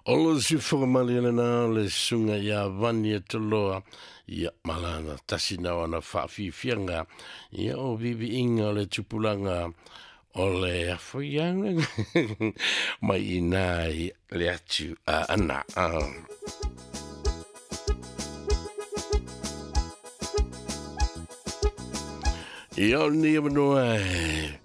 O le sifoga mali lena o le susuga ia Vani Toloa, ia malana tasi na ona faafiafiaga, ia o viviiga o le tupulaga o le afoiaga mai ina i le atu a ana. Ia o lenei avanoa e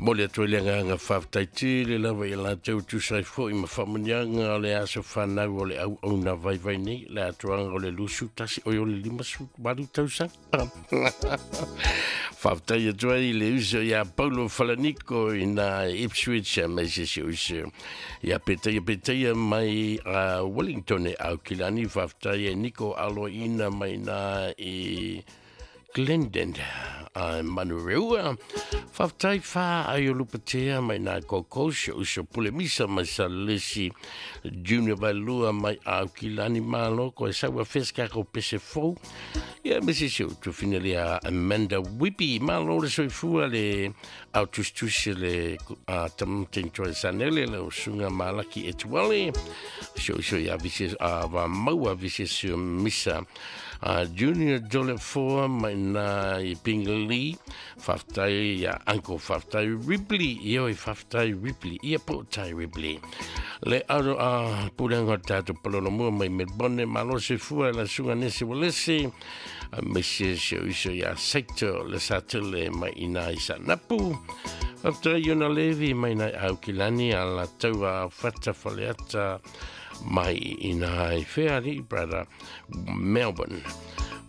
momoli atu ai le agaga faafetai tele lava i latou tusa ai foi ma faamanuiaga o le aso fanau o le auauna vaivai nei, le atoaga o le 21 oi o le 58 tausaga. Faafetai atu ai le uso ia Paulo Falaniko i na Ipswich mai se se uso ia Petaia Petaia mai a Wellington e Aukilani. Faafetai e Niko Aloina mai na i Glendon a Manureua. Faafetai fa ai o Lupatea mai nā Kokos, uso Pule Misa mai Salesi, Junior Vailua mai Aukilani Malo, ko e saua feska ko pese fou. Ia me se se utu finale a Amanda Whippy, malo le soifua le au tustusi le a tamten toi sanele le usunga malaki etuale. Se uso ia vise a va maua vise se misa. Junior Dole Foa mai nā i Pingali, faafetai ia Uncle, faafetai Ripley, ia oi faafetai Ripley, ia po tai Ripley. Le aro a pulenga o tātou palolo mua mai Melbourne, malo se fua la sunga nese walese, a mese se uso ia Saito le satele mai ina i sa napu. Faafetai Iona Levi mai nai Aukilani a la taua whata whaleata mai ina i wheari, brother, Melbourne.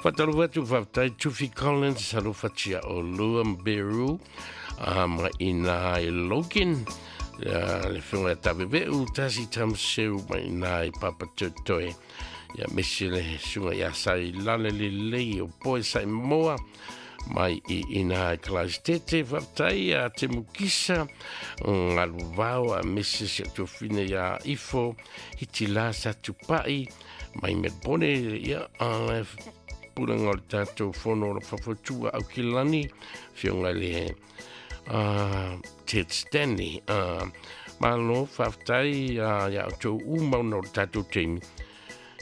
Whataru atu whaftai Tufi Collins, alofatia o Luam Beru, mai ina i Logan, le whionga taweweu, tasi tamseu mai ina i Papatoetoe. Ia mesi le sunga ia sai lale le lei o poe sai moa, mai i ina i Tete, whaftai a te mukisa, ngalu vau a mesi se tuafine ia ifo, hiti la sa tupai, mai Melbourne, ia a pulanga o le tātou fono o le whafotua au kilani, whionga le Ted Stanley. Malo, whaftai ia o tau umau na o le tātou teimi.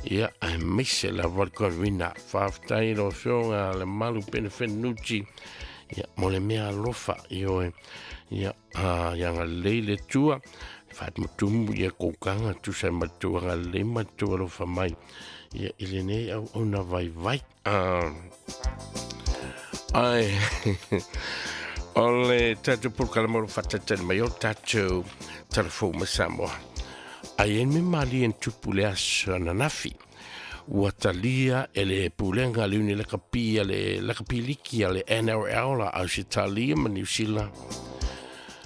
Ia, ai meise la Valkorina, whaftai lo whionga le malu penefenuti, ia, mo le mea alofa, ioe, ia, ia ngā leile tua, whatmutumu, ia kōkanga, tusa matua ngā le matua alofa mai, ia, i le nei au au na vai vai. Ai, o le tātou pulkala moro whatatene mai o tātou telefou ma Samoa. Ai en me mali en tupu le aso nanafi. Ua talia e le pulenga le uni lakapi a le lakapiliki a le NRL la Ausitalia ma New Zealand.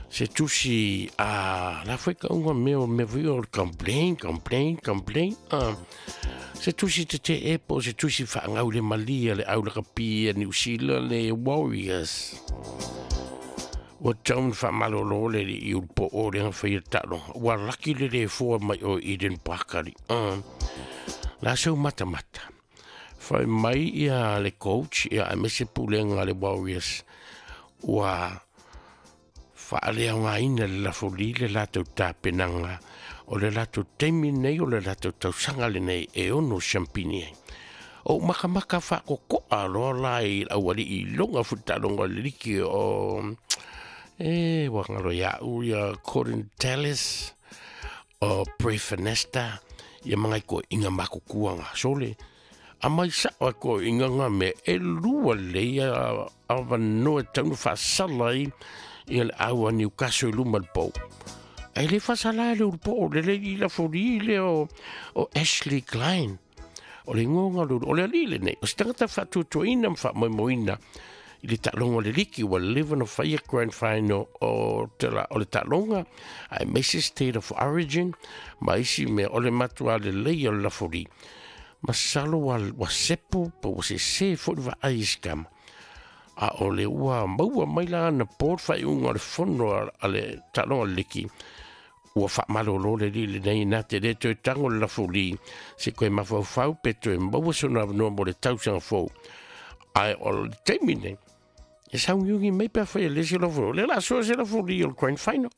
Se tusi a la fue ka unga meo me vui o complain, complain, complain. Se tusi te te epo, se tusi whaangau le malia le au lakapi a New Zealand le Warriors. Ua taun whamalolo le i ulpo o le ngawhai talo. Ua laki le le fua mai o Eden Parkari. La sau mata mata. Whai mai ia le coach, ia a mese pulenga le Warriors. Ua whaalea ngā ina le lafoli le lātou tāpenanga. O le lātou teimi nei, o le lātou tausanga le nei e ono champini ai. O makamaka whakokoa loa lai awali i longa futalonga le liki o... E, wangalo ia u ia Corin Tallis o Prefinesta ia mangai ko inga makukuanga sole. A mai sa o ko inga ngā me e lua le ia awa noa taunu whaasala i ia le aua Newcastle luma le pau. Ai le whaasala le urpo le le i la fori le o Ashley Klein. O le ngonga lulu, o le alile nei, o se tangata whaatutuaina ma whaamoemoeina i le taʻaloga o le liki ua leva na faia grand final o le taʻaloga ae maise state of origin ma isi mea o le matua lelei o le lafoli masalo ua sepo pa ua sesē foʻi le vaai i sikama a o le ua maua mai la ana po le faaiuga o le fono a le taʻaloga o le liki ua faamalōlō le alii lenei na te lē toe tago le lafoli se koe mafaufau pe toe maua sona avanoa mo le tausaga fou ae o le taimi nei e saungiugi mai pe awhai e lesi lafoli. Le la soa se lafoli o le grand final.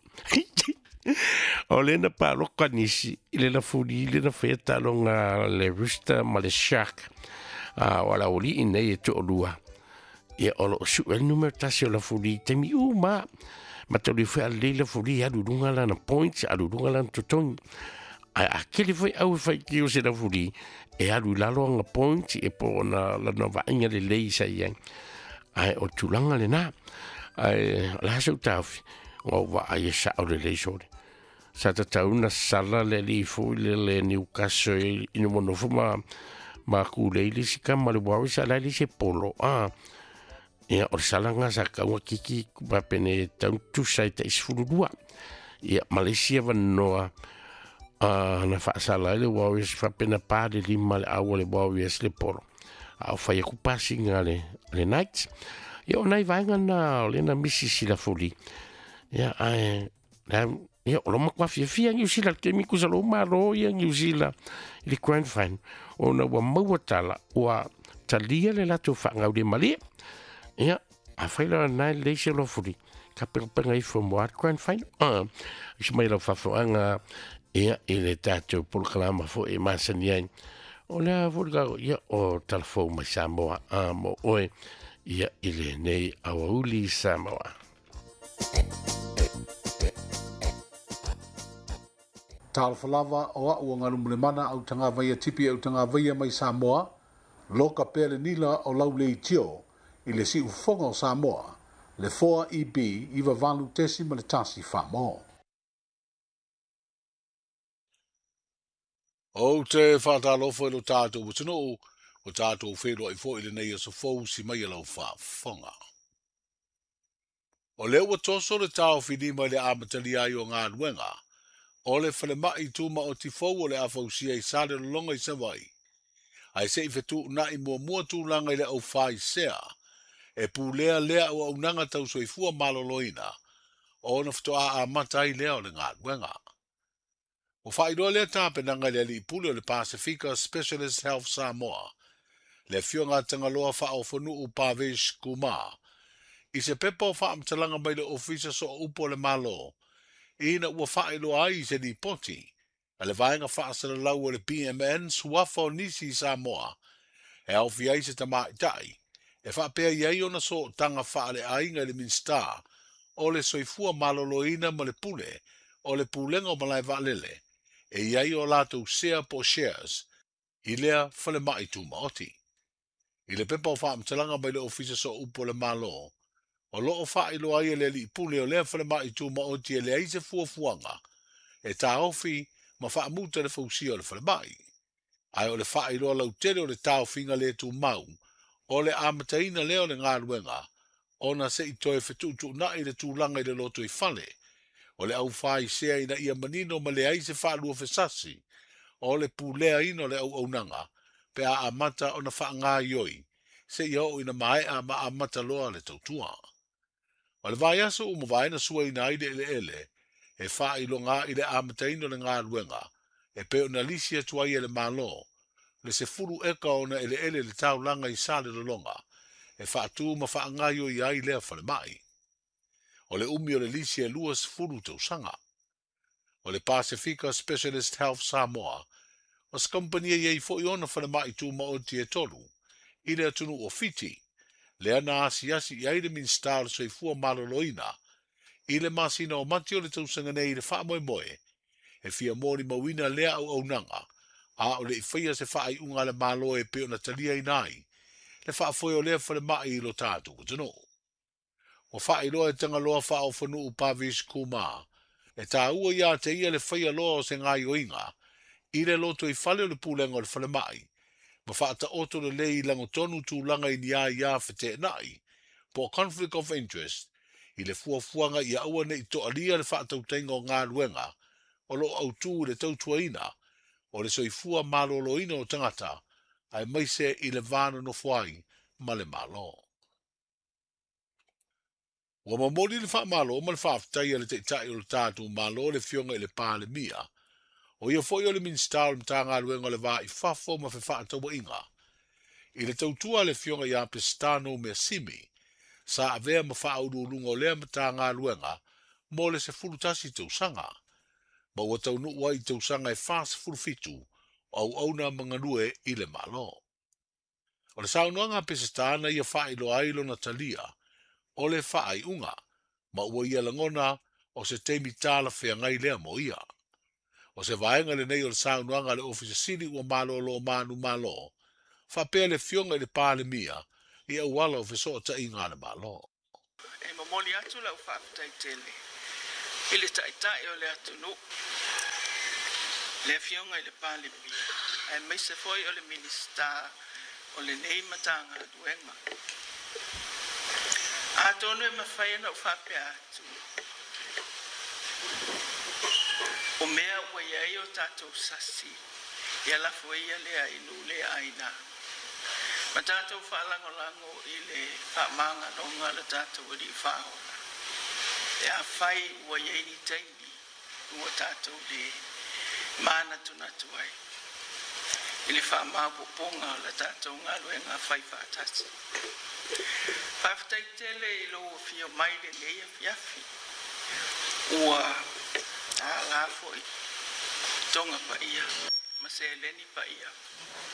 O le na paloka nisi i le lafuli le na faia taaloga le Rooster ma le Shark. A o ala oli i nei e to'olua. Ia o loo su'e le numera tasi o lafuli i taimi uma. Ma tauli foi a lelei lafuli alu i luga lana points, alu i luga lana totogi. Ae a kele foi au e faitio se lafuli, e alu i lalo aga points e po ona lana vaaiga lelei sa i ai. Ae o le tulaga lenā. Ae o le a sou taofi, ua ou vaai e sa'o lelei sole. Sa tatau na sala le alii foi le le Newcastle ina ua nofo ma ma kulei le isi kama le Warriors a la e leai se polo a. Ia o le sala lena sa tatau ona kiki faapene e tatau ona tusa i tai 12. Ia ma le isi avanoa a na faasala ai le Warriors faapena pa le lima le au a le Warriors le polo. A o fai aku pasiga a le, le Knights. Ia o nai vaega na o lea na misi Silafuli. Ia ae la ia o lo matua fiafia Niu Sila le taimi kusa lou malo ia Niu Sila i le Grand Final ona ua maua tala ua talia le latou faagaulemalie. Ia afai la na e lelei se lofuli ka pegapega ifo mo a Grand Final. Isi mai lau faafofoga ia i le tatou polokalama foi e masani ai. O lea foi le ia o talafou mai Samoa a mo oe ia i lenei aoauli Samoa. Talofa lava o a'u o Galumulemana au tagavaia tipi au tagavaia mai Samoa, loka pea le nila o lau leitio i le siufofoga o Samoa, le 4 EB 98.1 Famo. Ou te faatalofa i lo tatou atunuu, ua tatou feiloai foi i lenei aso fou si mai e lau faafofoga. O lea ua toso le taofilima i le amatalia ai o galuega o le falemai tumaoti fou o le a fausia i Salelologa i Savaii, ae se i fetuunai muamua tulaga i le aufaisea e pulea lea auaunaga tau soifua maloloina ona faatoa amata ai lea o le galuega. Ua faailoa lea tapenaga i le alii pule o le Pasifika Specialist Health Samoa, le Afioga a Tagaloa Faaofonuu Bhavesh Kumar, i se pepa o faamatalaga mai le Ofisa Sooupu o le Malo, ina ua faailoa ai i se lipoti a le Vaega Faasalalau o le PMN suafa o nisi i Samoa e aofia ai se tamaitai e faapea i ai ona sootaga faaleaiga i le Minisita o le Soifua Maloloina ma le Pule o le Pulega o Malae Vaalele e i ai o latou sea po o shares i lea falemai tumaoti. I le pepa o faamatalaga mai le Ofisa Sooupu o le Malo, o lo o faailoa ai e le alii pule o lea falemai tumaoti e leai se fuafuaga e taofi ma faamuta le fausia o le falemai. Ae o le faailoa lautele o le taofiga le tumau o le amataina lea o le galuega ona se i toe fetuutuunai le tulaga i le lotoifale o le aufaisea ina ia manino ma leai se faaluafesasi o le puleaina o le auaunaga pe a amata ona faagaoioi seia oo ina maea ma amata loa le tautua. O le vaiaso ua mavae na suaina ai le eleele e faailoga i le amataina o le galuega e pei ona lisi atu ai e le Malo le 10 eka ona eleele i le taulaga i Salelologa e faatu ma faagaoioi ai lea falemai. O le umi o le lisi e 20 tausaga. O le Pasifika Specialist Health Samoa, o se kamupani e i ai foi ona falemai tumaoti e tolu i le atunuu o Fiti, lea na asiasi i ai le Minisita o le Soifua Maloloina i le masina o Mati o le tausaga nei i le faamoemoe e fia molimauina lea auaunaga a o le i faia se faaiuga a le Malo e pei ona taliaina ai le faafoe o lea falemai i lo tatou atunuu. Ua faailoa e Tagaloa Faaofonuu Bhavesh Kumar e taua ia te ia le faia loa o se gaoioiga i le lotoifale o le pulega o le falemai ma faataoto lelei i lagotonu tulaga i ni aia feteenai po o conflict of interest i le fuafuaga ia aua ne i toalia le faatautaiga o galuega o lo o autū i le tautuaina o le soifua maloloina o tagata aemaise i le va nonofo ai ma le Malo. Ua momoli le faamalo ma le faafetai a le Taitai o le tatou Malo le Afioga i le Palemia, o ia foi o le Minisita o le Matagaluega o le Va i Fafo ma Fefaatauaiga, i le tautua a le Afioga ia Pesitano Measimi, sa avea ma faauluuluga o lea Matagaluega mo le 11 tausaga. Ma ua taunuu ai i tausaga e 47 o auauna ma galue i le Malo. O le saunoaga a Peseta na ia faailoa ai lona talia o le faaiuga, ma ua ia lagona o se taimi talafeagai lea mo ia. O se vaega lenei o le saunoaga a le Ofisa Sili ua malolo manumalo, faapea le Afioga i le Palemia i auala o fesootaiga a le Malo. E momoli atu lau faafetai tele i le Taitai o le atunuu, le Afioga i le Palemia, aemaise foi o le Minisita o lenei Matagaluega. Atonu e mafai ona ou faapea atu, o mea ua i ai o tatou sasi, ia lafo ia lea i nuu le aina. Ma tatou faalagolago i le faamagaloga a le tatou Alii Faaola, pe afai ua i ai ni taimi ua tatou le manatunatu ai i le faamaopoopoga o le tatou galuega faifaatasi. Faafetai tele i lou afio mai lenei afiafi, ua tala foi toga paia ma seleni paia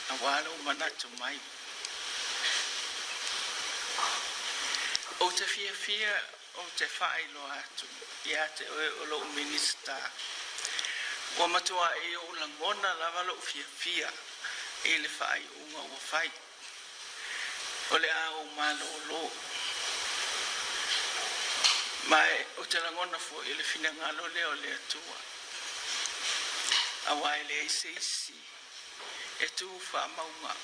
aua lou manatu mai. Ou te fiafia ou te faailoa atu ia te oe o lou Minisita, ua matuai ou lagona lava lou fiafia i le faaiuga ua fai. O le a ou malolo. Ma ou te lagona foi i le finagalo lea o le Atua, aua e leai se isi e tu faamauga.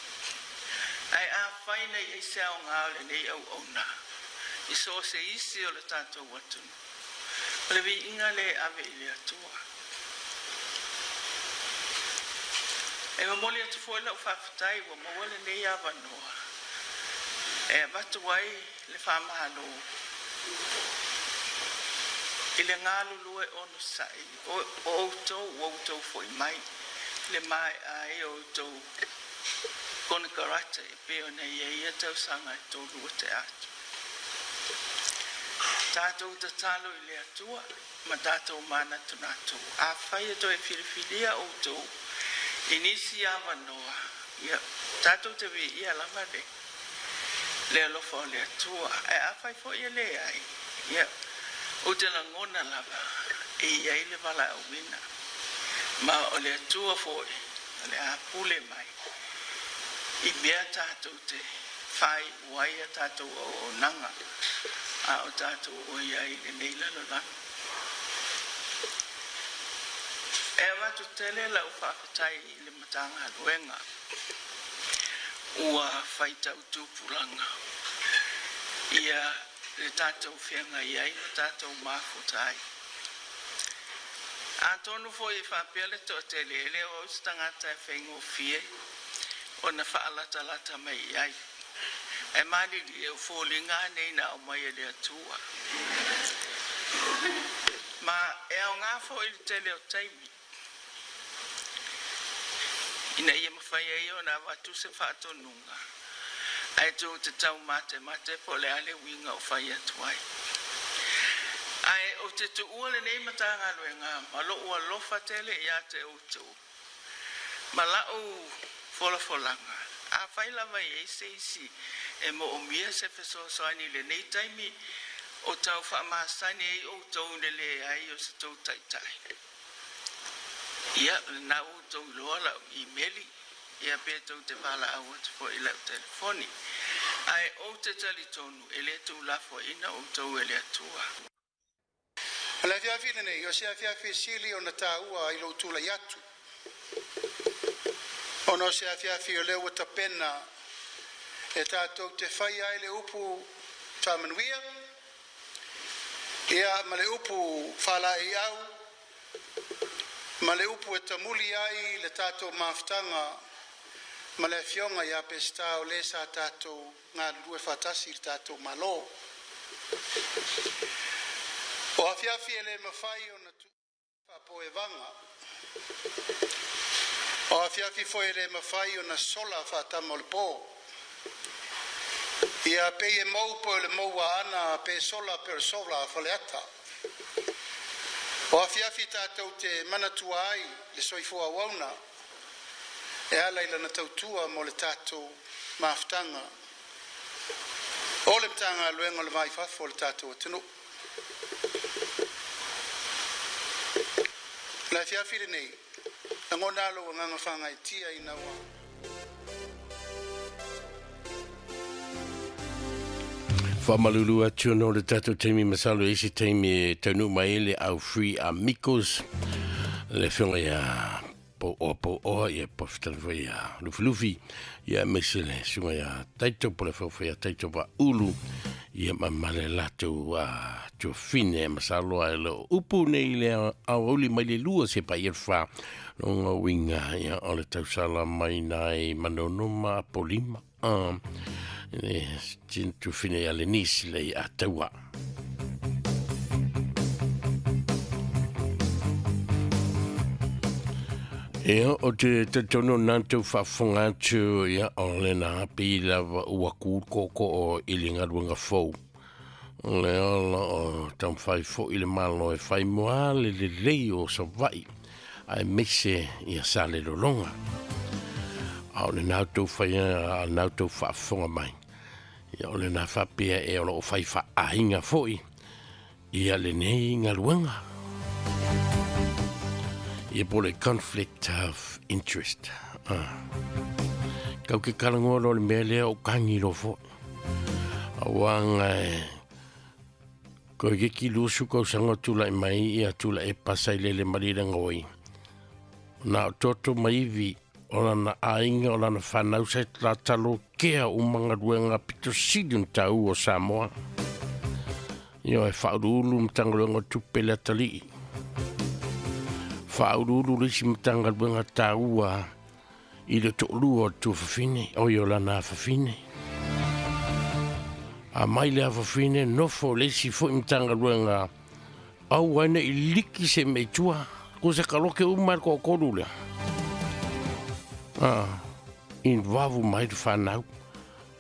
Ae afai na i ai se aoga o lenei auauna i so o se isi o le tatou atunuu, o le viiga lea e ave i le Atua. E momoli atu foi lau faafetai ua maua lenei avanoa e avatu ai le faamalo i le galulue onosai o outou ua outou foi mai le maea ai o outou konekarate e pei ona i ai ia tausaga e tolu ua tea atu. Tatou tatalo i le Atua ma tatou manatunatu. Afai e toe filifilia outou i nisi avanoa, ia tatou te viia lava le le alofa o le Atua. Ae afai foi e leai, ia ou te lagona lava e i ai le valaauina, ma o le Atua foi o le a pule mai i mea tatou te faaiu ai a tatou auaunaga a o tatou o i ai i lenei lalolagi. E avatu tele lau faafetai i le Matagaluega ua faitau tupulaga ia le tatou feagai ai ma tatou mafuta ai. Atonu foi e faapea le toatele, e le o au se tagata e faigofie ona faalatalata mai i ai. Ae malilie o foliga nei na aumai e le Atua. Ma e aoga foi le tele o taimi ina ia mafai ai ona avatu se faatonuga, ae tou te taumatemate po o le a le uiga o fai atu ai. Ae ou te tuua lenei Matagaluega ma lou alofa tele ia te outou ma lau folafolaga. Afai lava e i ai se isi e moomia se fesoasoani i lenei taimi o tau faamasani ai outou i le leai o se tou taitai, ia, lena ua outou iloa lau imeli, ia pe tou te valaau atu foi i lau telefoni. Ae ou te talitonu e le tuulafoaiina outou e le Atua. O le afiafi lenei, o se afiafi sili ona taua i lou tulai atu, ona o se afiafi o lea ua tapena e tatou te faia ai le upu faamanuia, ia ma le upu faalaeiau, ma le upu e tamuli ai le tatou mafutaga ma le afioga ia Peseta o le sa tatou galulue faatasi i le tatou Malo. O afiafi e le mafai ona faapoevaga, o afiafi foi e le mafai ona sola faatama o le po. Ia pei e mou po o le mou a ana pe sola pe o le sola a Faleata. O afiafi tatou te manatua ai le soifua auauna e ala i lana tautua mo le tatou mafutaga o le Matagaluega o le Va i Fafo o le tatou atunuu. O le afiafi lenei, lagona lou agaga faagaeetia ina ua Faamalulu atu no le tatou taimi, masalo i se taimi e taunuu mai ai le au Free Amigos, le afioga ia Pouoa Pouoa, ia pofitana foi ia Lufilufi, ia aemaise le susuga ia Taito po le afioga foi ia Taito Vaaulu, ia ma le latou tuafine. Masalo ai le upu nei le aoauli mai le 2 se pa ia 4 longa uiga ia o le tausala mai nai Manono ma Apolima le tuafine ia Lenise le ia taua. Ia, o te talitonu nā tau faafofoga atu, ia, o le na api lava ua kū koko o i le galuega fou. O le ola o taumafai foi le Malo e fai moa le lelei o Savaii, aemaise ia Salelologa. A o lena outou fai a lena outou faafofoga mai. Ia, o lena faapea e o lo o fai faaaiga foi ia lenei galuega. Ia po le conflict of interest. Kau ke kalangoa lo le mea lea o kangi lo fo. Auanga e ko ke ki lusu kau sanga tula i mai ia tula e pasai lele marira ngoi. Na o toto maivi o lana ainga o lana whanau sa la talo kea o mangaruenga pito sili tau o Samoa. Ia e whaururu mtangaluenga tupe le atalii. Whaururu lisi mtangaluenga taua i le to'olua o le tuafafine, o i o lana afafine. A mai le afafine, nofo le isi foi mtangaluenga au aina i liki se meitua, ko se kaloke uma le ko'okolu lea. In vavu mai le whanau.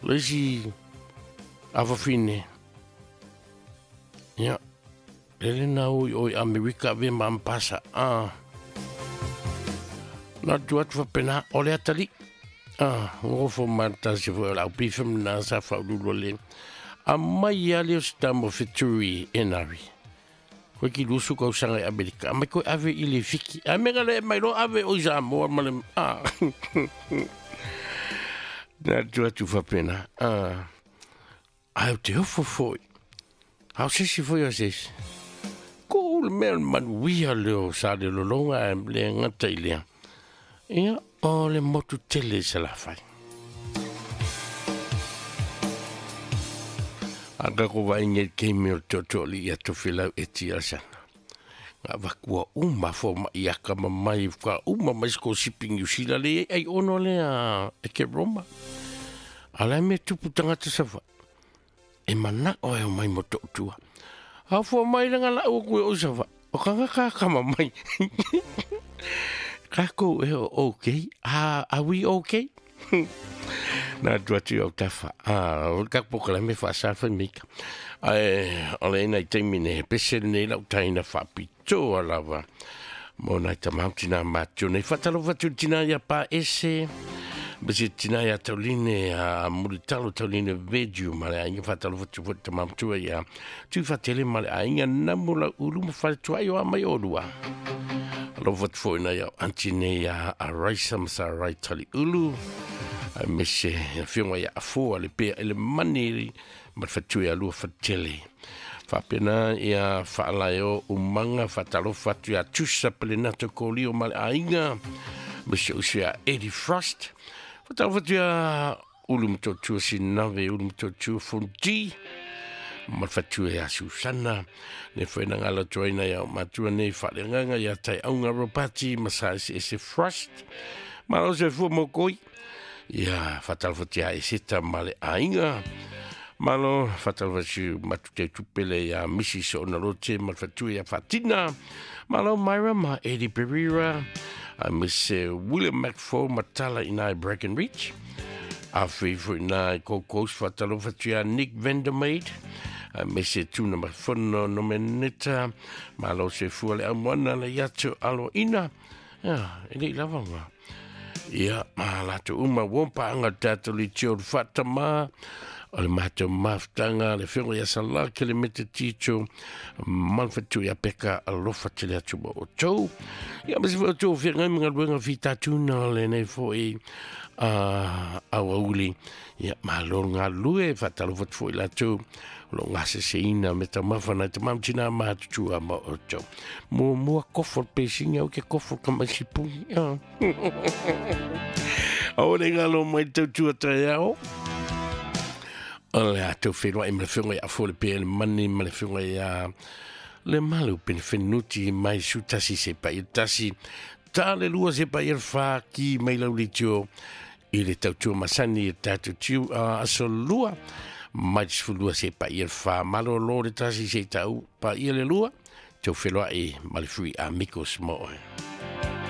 Le isi afafine, ia, lele na oi oi Amerika ve ma ampasa. Na tu atu whapena, o le atali. Ngofo mata se fo lau pifem na sa whaululu le. A mai ale o se tamo feturi enari. Koe ki lusu kau sanga i Amerika. A mai koe ave i le fiki. A menga le mai lo ave o i Samoa ma le... Na tu atu whapena. Ai o te ofo foi. Hau sesi foi o sesi. Ko le mea manuia leo sa le lolonga e le ngata i lea. Ia o le motu tele sa la whai. A ka ko vai nge keimi o toto li ia tofilau e tia sana. Ngā wakua uma fo ma i aka mamai wka uma mai sko siping New le ai ono lea e ke Roma. Ala me tupu tangata sawa. E mana o e o mai mo tua. Au fo mai langa la o kue o sawa. O kanga ka kama mai. Kako e o okay. Are we okay? Nā tua tu au tawha. O ka poka me wha sa mika. Ai, o le ina i teimi ne pese nei lau taina whapitoa lava. Mo nai tamau tina mātua nei. Whatalo whatu tina ia pa ese. Bese tina ia tauline a muritalo tauline veju ma le ainga whatalo whatu whatu tamau tua ia. Tu whatele ma le ainga namu la ulu ma whatua i o a mai orua. Alo whatu fo ina ia antine ia a raisa masa rai tali ulu. A mese whionga ia afua le pea ele mani ma whatu ia lua whatele. Whapena ia whaalae o umanga whatalo whatu ia tusa pele nato kōlio ma le ainga. Mese usu ia Eddie Frost. Whatalo whatu ia ulu mtotua sinave, ulu mtotua fundi. Ma whatu ia Susana. Ne whaina ngala tuaina ia matua nei whalenganga ia tai aunga ropati masa ese ese Frost. Ma lo se fua mokoi. Ia whatalo whatu ia eseta ma le ainga. Malo whatalo whatu matu te tupele ia Mrs. Onalote ma whatu ia Fatina. Malo Myra ma Eddie Pereira. A Miss William McFall matala inai Breckenridge. A whiwhu inai Kokos whatalo whatu ia Nick Vandermeid. Aemaise tuna mafono no meneta malo se fua le aumoana le iato aloina. Ia, e lei lava nga. Ia, ma latou uma ua paanga tatou le tio le faatama o le matou mafutaga le afioga ia Sala Kelemete Tito ma le faletua ia Peka alofa tele atu ma outou. Ia ma se foi outou feagai ma galuega fitatuna lenei foi a auauli. Ia, malo le galulue, faatalofa atu foi latou o lo o gaseseina me taumafa nai tama ma tina matutua ma outou. Muamua kofo le pesinga au ke kofo ka mai sipuni. Aua le galo mai tautua taeao. O le a tau whenua i ma le whenua i afo le pē le mani ma le whenua i a le malu pene whenuti mai su tasi se pa i tasi. Ta le lua se pa i le wha ki mai lau le tio i le tautua masani i tātou tiu aso lua mai te sefululua se pa i le wha malo lo le tasi se tau pa i le lua tau whenua i ma le fui amigos mo oe.